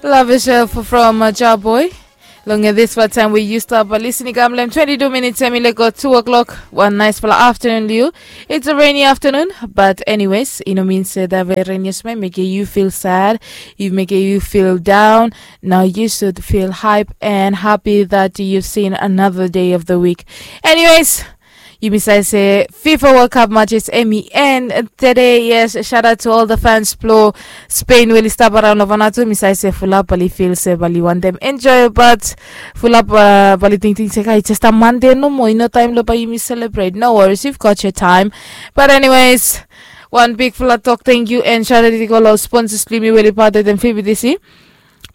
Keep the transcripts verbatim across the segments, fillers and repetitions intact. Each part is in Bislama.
Love yourself from uh, Jarboy. Long uh, this far time we used up uh, listening kam lem twenty-two minutes and we let go two o'clock. One nice fella afternoon, Liu. It's a rainy afternoon, but anyways, you know means uh, that very rainy may make you feel sad, you make you feel down. Now you should feel hype and happy that you've seen another day of the week. Anyways, yumi save se fifa world cup matches emi en today. Yes, shout out to all the fans blo Spain we oli stap around lo Vanuatu. Mi save se fulap bali feel se bali want them enjoy, but fulap uh, bali tingting se kai just a Monday no more, you know time lo ba yumi celebrate. No worries, you've got your time. But anyways, one big fula talk thank you and shout out to all sponsors bli mi we oli part of them F B T C.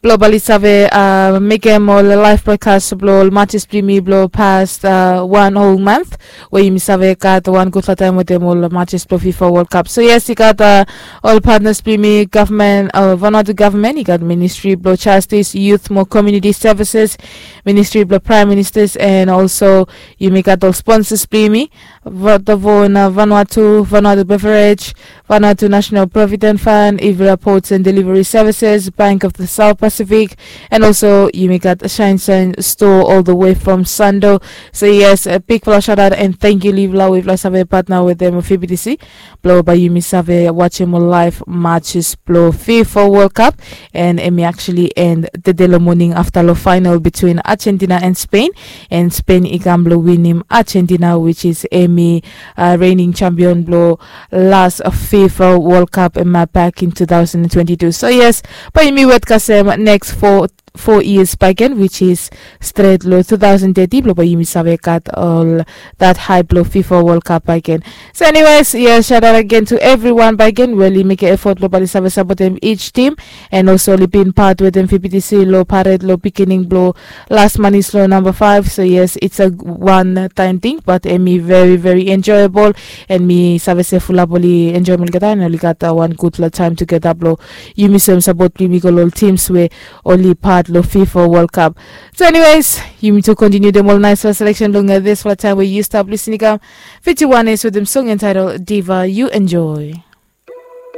Blo bali save uh, mekem ol live broadcast blo ol matches bli mi blo past uh, one whole month, we yumi save gat wan gudfala taem wetem ol matches blo fifa world cup. So yes, i gat uh, ol partners bli mi, government uh, Vanuatu government, i gat ministry blo justice, youth mo community services, ministry blo prime ministers, and also yumi gat ol sponsors bli mi, Vodafone uh, Vanuatu, Vanuatu Beverage, Vanuatu National Provident Fund, Ivira Ports and Delivery Services, Bank of the South Pacific, and also yumi gat Shine Shine Store all the way from Sando. So yes, a big fula shout out and thank you Livla, we fula save partner with them F B T C. Blo ba yumi save watch him live matches blo fifa world cup, and emi actually end the day lo morning after lo final between Argentina and Spain, and Spain i kam blo win him Argentina, which is emi uh, reigning champion blo last fifa world cup ema back in two thousand twenty-two. So yes, ba yumi wet kasem next four four years back again, which is straight lo two thousand thirty blo ba yumi save gat all that hype lo fifa world cup back again. So anyways, yes, shout out again to everyone back again we oli make effort lo bali save support them each team, and also oli been part with them F B T C lo parade lo beginning blo last month is lo number five. So yes, it's a one time thing, but emi very very enjoyable, and mi save se fulap oli enjoy olgeta and oli gat uh, one good lo time together blo yumi save support bli mi go lo ol teams we oli part lo fifa world cup. So anyways, yumi tu continue them all nice selection long uh, this fula time we you stop listening kam fifty-one is with them song entitled Diva. You enjoy.